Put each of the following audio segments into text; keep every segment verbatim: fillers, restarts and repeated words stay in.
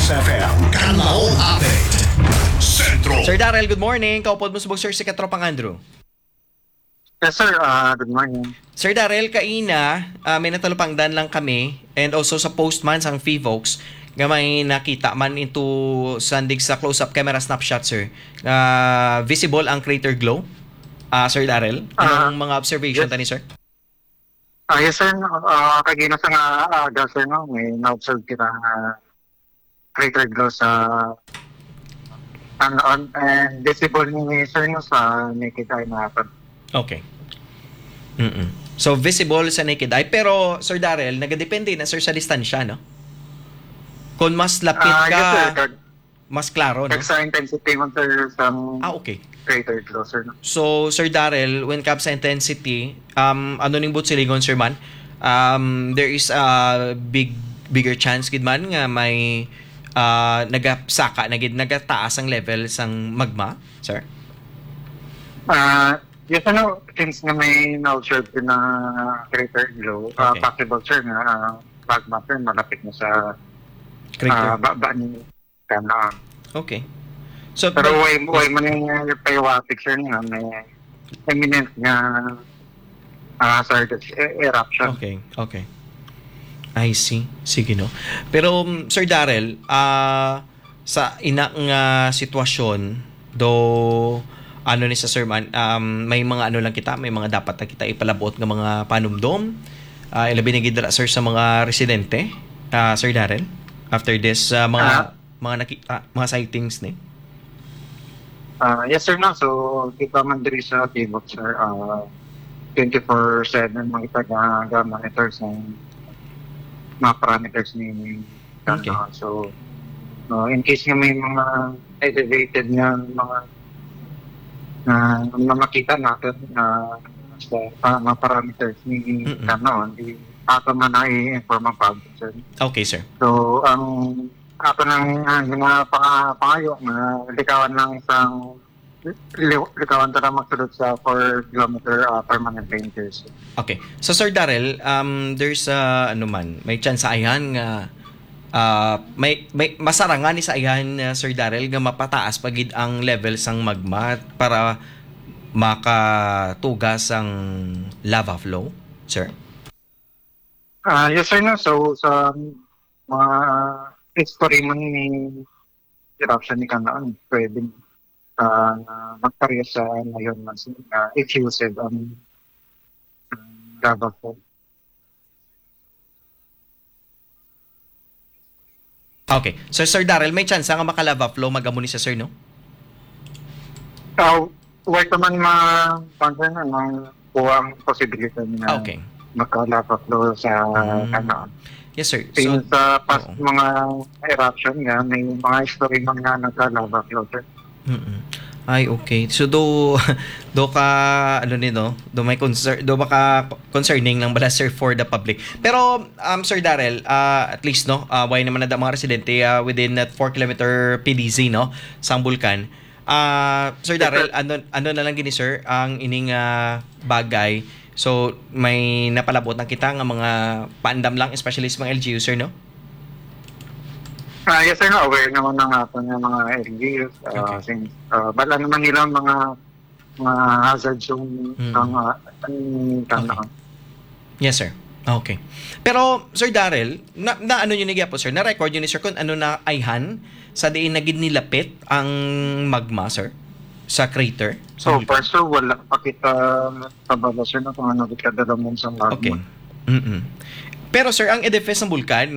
F M Kanlaon Update. Sentro. Sir Daryl, good morning. Kaupod mo subong, sir, si Katropang Andrew. Yes, sir. Ah, good morning. Sir Daryl, kaina, ah, may natalupangdan lang kami, and also sa post man sang Fivox, nga may nakita man into sandig sa close-up camera snapshot, sir. Ah, visible ang crater glow. Ah, Sir Daryl, Ah, anong mga observation yes. tani, sir? Ah, yes, sir. No? Ah, kagina sa nga aga, sir, no? May na-observe kita nga crater glow sa ano, on, and visible ni sir, no, sa naked eye natin. Okay. Mm-mm. So, visible sa naked eye. Pero, Sir Daryl, nagadepende na, sir, sa distansya, no? Kung mas lapit Ah, yes, ka, sir. Kag-, mas klaro, no? kag sa intensity man, sir, sa Ah, okay. crater glow, sir, no? So, Sir Daryl, when comes sa intensity, um, ano ning buot silingon, sir, man? Um, there is a big, bigger chance gid man nga may, ah, nagasaka na gid, nagataas ang level sang magma, sir? Ah, yes, ano, since nga may na-observe na crater glow, ah, Okay. possible, sir, nga, ah, magma, sir, malapit na sa, Crater. ah, baba ni Kanaan. Okay. So, Pero but way, way man yung, uh, pahiwatig, sir, nga may imminent nga, ah, hazardous e-, eruption. Okay, okay. I see. Sige, no. Pero, um, Sir Daryl, ah, sa ina nga sitwasyon, do, ano ni sa, sir, man, um, may mga ano lang kita, may mga dapat na kita ipalabot nga mga panumdom, ah, ilabi na gid dira, sir, sa mga residente, ah, Sir Daryl, after this, ah, mga Ah. mga naki-, ah, mga sightings ni? Ah, yes, sir, no. So, kita man diri sa Tibok, sir, ah, twenty-four seven man kita ga-, ga-monitor sa mga parameters ni Okay. Kanaan. So, no, in case nga may mga elevated nga mga, ah, nga makita natin, ah, sa pa-, mga parameters ni Mm-mm. Kanaan, di ato man na i-inform ang public, sir. Okay, sir. So, ang ato nang, ah, mga panga-, pangayo nga likawan lang sang, li-, likawan ta lang magsulod sa four kilometer, ah, permanent ranges. Okay. So, Sir Daryl, um, there's, ah, ano man, may chance sa ayhan nga, ah, may, may masarangan ni sa ayhan, ah, Sir Daryl, nga mapataas pa gid ang level sang magma para makatuga sang lava flow, sir? Ah, yes, sir, no. So, sa mga history man ni eruption ni Kanaan, pwedeng, ah, magpareha sa ngayon mas, ah, effusive ang, ang lava flow. Okay. So, Sir Daryl, may chance nga maka-lava flow, mag-amo ni sa, sir, no? Ah, wala naman ma-, concern ang kuwang posibilidad na Okay. maka-lava flow sa Mm. Kanaan. Yes, sir. Since So, sa past oo. mga eruption nga, may mga history man nga nagka-lava flow, sir. Mm-mm. Ay, okay. So, do, do ka, ano ni, no? Do may concern, do maka concerning lang bala, sir, for the public. Pero, um, Sir Daryl, ah, at least, no, ah, why naman na mga residente, ah, within that four kilometer P D Z, no, sang bulkan. Ah, Sir Yes, Daryl, sir. ano, ano na lang gini, sir, ang ining, ah, bagay? So, may napalabot na kita nga mga paandam lang, especially sa mga L G U, sir, no? Ah, yes, sir, no, aware naman ang aton nga mga L G Us. Ah, Okay. since, ah, bala naman nila mga, mga hazard zone Mm. ang, ah, ang Okay. Kanaan. Yes, sir. Okay. Pero, Sir Daryl, na, na ano nyo ni gyapon, sir? Na-record nyo ni, sir, kung ano na ayhan sa diin na gid nilapit ang magma, sir? Sa crater? Sa So bulkan? far, sir, wala pa kita kabalo, sir, na kung ano kita dalamon sa magma. Okay. Mm-mm. Pero, sir, ang edifice ng bulkan,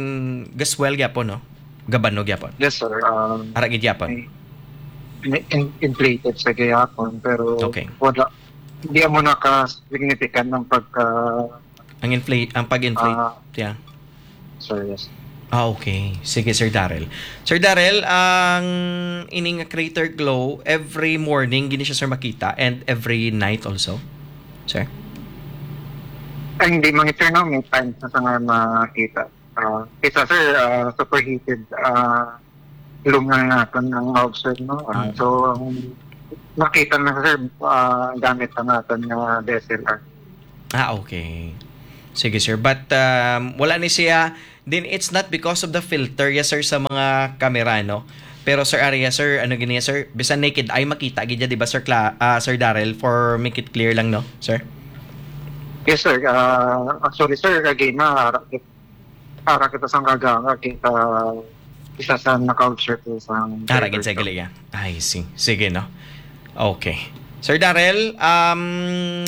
gaswell gyapon, no? Gabano gyapon? Yes, sir. Um, Ara gid gyapon? may, may in-, inflated sa gihapon, pero Okay. wala. Hindi mo naka-significant ng pagka- Ang inflate, ang pag-inflate, Ah, yeah. sir, yes. Ah, okay. Sige, Sir Daryl. Sir Daryl, ang ining crater glow, every morning, gini siya, sir, makita, and every night also, sir? Ay, hindi man, sir, no? May times na sa nga makita. Ah, isa, sir, ah, superheated, ah, room lang natin ang ma-observe, no? Ah, Mm. so, ang makita na, sir, ah, gamit na natin nga D S L R. Ah, okay. Sige, sir. But, um, wala ni siya Then it's not because of the filter, yes, sir, sa mga kamera, no? Pero, sir, ari, yes, sir, ano gini, sir? Bisan naked eye, makita gid ya, di ba, Sir Cla-, ah, Sir Daryl, for make it clear lang, no, sir? Yes, sir. Ah, actually, sir, again, na, ara kita sang kaganga, kita isa sa naka-observe sa Ara gid sa gali, ya. I see. Sige, no? Okay. Sir Daryl, um,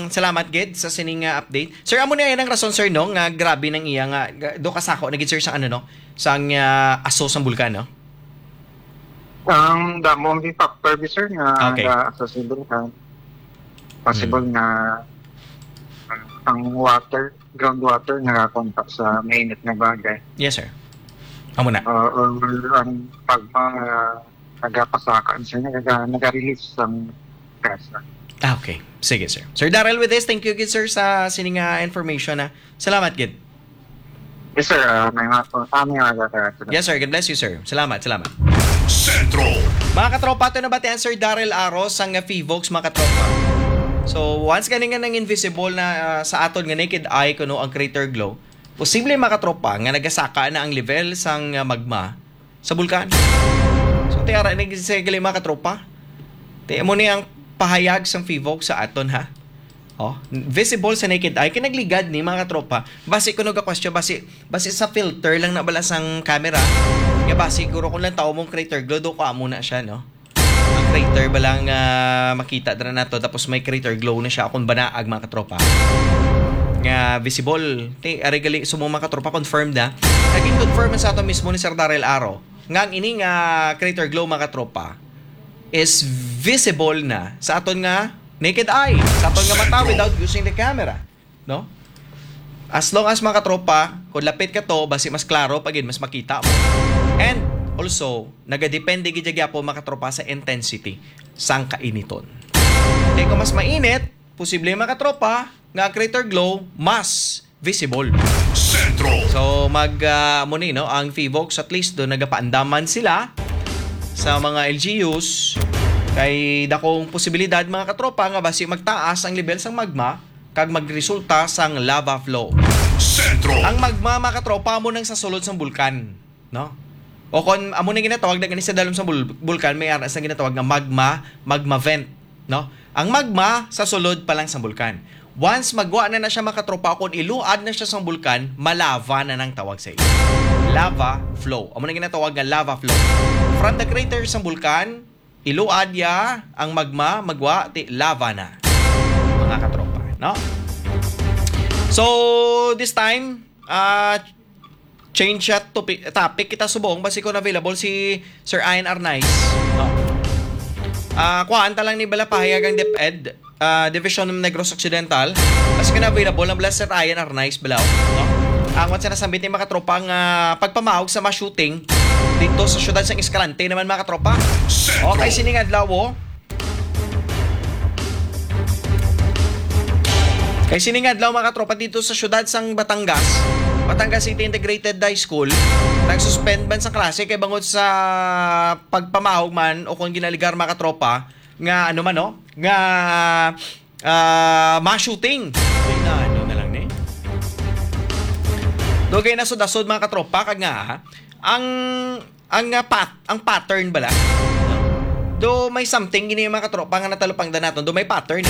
salamat gid sa sining nga update. Sir, amo ni ang rason, sir, no, nga grabe nang iya nga, ga-, do kasako na gid, sir, sa ano, no? Sang, ah, aso sang bulkan, no? Ang damo ang factor, sir, nga Okay. Nga accessible ka. Possible Hmm. nga ang water, groundwater, nakakontak sa mainit na bagay. Yes, sir. Amo na. Uh, or ang pagma nagapasaka, sir, naga, naga-release ang gas. Ah, okay. Sige, sir. Sir Daryl, with this, thank you gid, sir, sa sining nga information, ha. Salamat gid. Yes, sir. Uh, may mga, ah, may mga Yes, sir. God bless you, sir. Salamat, salamat. Sentro. Mga katropa, ito na ba ti ang Sir Daryl Aros sang Fivox, mga katropa? So, once gani nga nang invisible na, ah, sa aton nga naked eye kuno ang crater glow, posible, mga katropa, nga nagasaka na ang level sang, ah, magma sa bulkan. So, tiara na gid sa gali, mga katropa. Ti mo ni ang pahayag sang Fivox sa aton, ha? Oh, visible sa naked eye. Kinagligad ni, mga katropa. Basi kuno ga question, basi, basi sa filter lang na bala sang camera. Nga basi, siguro kung lang tao mong crater glow, do ko amo na siya, no? Ang crater ba lang, ah, makita dira nato, tapos may crater glow na siya akong banaag, mga katropa. Nga visible. Ti, ari gali, so, mga katropa, confirmed na. Naging confirm sa ato mismo ni Sir Daryl Aro nga ang ini nga crater glow, mga katropa, is visible na sa aton nga naked eye, sa aton nga mata, Sentro. Without using the camera, no? As long as, mga katropa, kung lapit ka to, basi mas klaro pa gid, mas makita mo. And also, nagadepende gid gyapon, mga katropa, sa intensity sang kainiton. Kay kung mas mainit, posible, mga katropa, nga ang crater glow mas visible. Sentro. So, mag, ah, mo ni, no, ang Fivox, at least do nagapaandaman sila sa mga L G Us. Kay dakong posibilidad, mga katropa, nga basi magtaas ang level sang magma kag magresulta sang lava flow. Sentro. Ang magma, mga katropa, mo nang sa sulod sang bulkan, no? O kon amo na ginatawag na gani sa dalom sa bul- bulkan, may aras na ginatawag nga magma, magma vent, no? Ang magma sa sulod pa lang sa bulkan. Once magwa na na siya, mga katropa, kung iluad na siya sa bulkan, malava na nang tawag sa iya. Lava flow. Amo na ginatawag nga lava flow. From the crater sa bulkan, iluad ya ang magma, magwa, ti lava na. Mga katropa, no? So, this time, ah, change siya topic, topic kita subong, basi kung available si Sir Ian Arnaiz. No? Ah, kuhaan ta lang ni bala pahayag ang DepEd, ah, Division ng Negros Occidental. Basi kung available lang bala Sir Ian Arnaiz bala, no? Ang what's na sambit ni, mga katropa, nga pagpamahog sa mass shooting dito sa syudad sang Escalante naman, mga katropa. Sentro. Okay, sining adlaw, oh. Kay sining adlaw, mga katropa, dito sa syudad sang Batangas, Batangas City Integrated High School, nag-suspend man sa klase kay bangod sa pagpamahog man o kung ginaligar, mga katropa, nga ano man, no? Nga, ah, mass shooting. Ay, na ano na lang ni. Dugay na sud-asod, mga katropa, kag nga, ha? Ang, ang, ah, pat-, ang pattern bala, no? Do may something gini, mga katropa, nga natalupangdan naton. Do may pattern.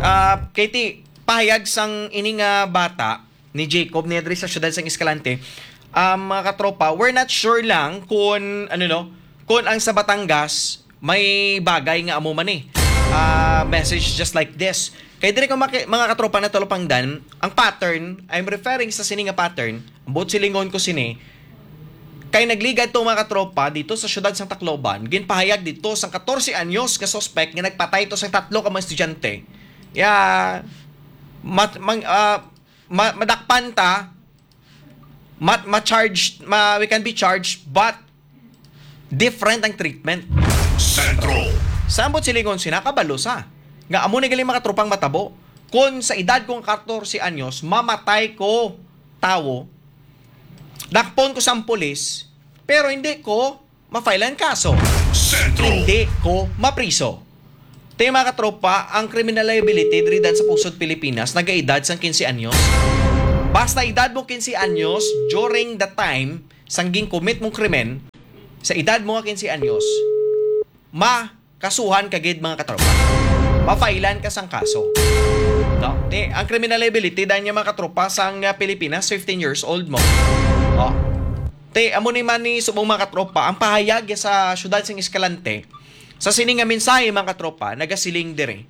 Ah, kay ti, pahayag sang ini nga bata ni Jacob ni diri sa syudad sang Escalante. Ah, mga katropa, we're not sure lang kung, ano, no, kung ang sa Batangas may bagay nga amo man eh. Ah, message just like this. Kay diri ko maki-, mga katropa, natalupangdan, ang pattern, I'm referring sa sini nga pattern, ang buot silingon ko sini, kay nagligad to, mga katropa, dito sa syudad sang Tacloban, ginpahayag dito sang katorse anyos nga suspect nga nagpatay to sang tatlo ka mga estudyante. Ya, mat-, mang-, ah, ma-, madakpan ta, ma-, ma-charge, ma-, we can be charged, but different ang treatment. Sentro. Sa ambot silingon sina, kabalo sa. Nga amo ni gali, mga tropang matabo. Kung sa edad kong katorse anyos, mamatay ko tawo, dakpon ko sang pulis, pero hindi ko ma-file ang kaso. Sentro. Hindi ko mapriso. Ti, mga katropa, ang criminal liability diri dan sa pusod Pilipinas, nagaedad sang quince anyos. Basta edad mo quince anyos, during the time sang gin-commit mong krimen, sa edad mo nga quince anyos, makasuhan ka gid, mga katropa. Mafailan ka sang kaso. No? Ti, ang criminal liability dahil niya, mga katropa, sang, ah, Pilipinas, fifteen years old mo. Oh. Ti, amo ni man ni subong, mga katropa, ang pahayag sa siyudad sing Escalante, sa sini nga mensahe, mga katropa, nagasiling diri.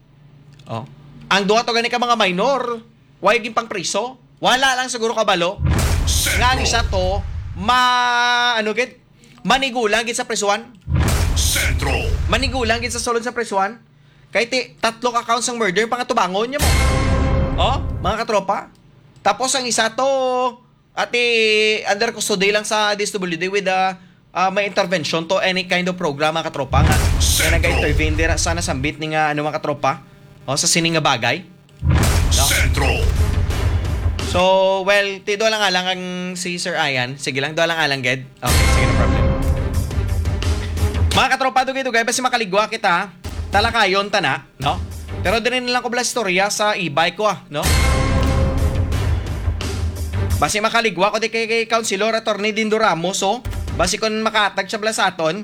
Oh. Ang duha to gani ka mga minor, why gin pang priso? Wala lang siguro kabalo nga ang isa to ma, ano gid, manigulang gid sa prisuhan. Sentro. Manigulang gid sa sulod sa prisuhan. Kay ti, tatlo ka counts sang murder, pangatubangon niya mo. Oh, mga katropa. Tapos ang isa to, ati, under custody lang sa D S W D with, ah, ah, may intervention to any kind of program, mga katropa, nga, nga Sentro. Nag-intervene dira sa nasambit ni nga, ano, mga katropa, o, sa sining nga bagay. No? Sentro. So, well, ti, duha lang alang ang si Sir Ian. Sige lang, duha lang alang, ged. Okay, sige, no problem. Mga katropa, dugay-dugay, basi makaligwa kita, talakayon ta na, no? Pero diri na lang ko bala istorya sa e-bike ko, ah, no? Basi makaligwa ko di kay, kay Councilor Attorney Dindo Ramos, oh. Basi kung makatag siya bala sa aton,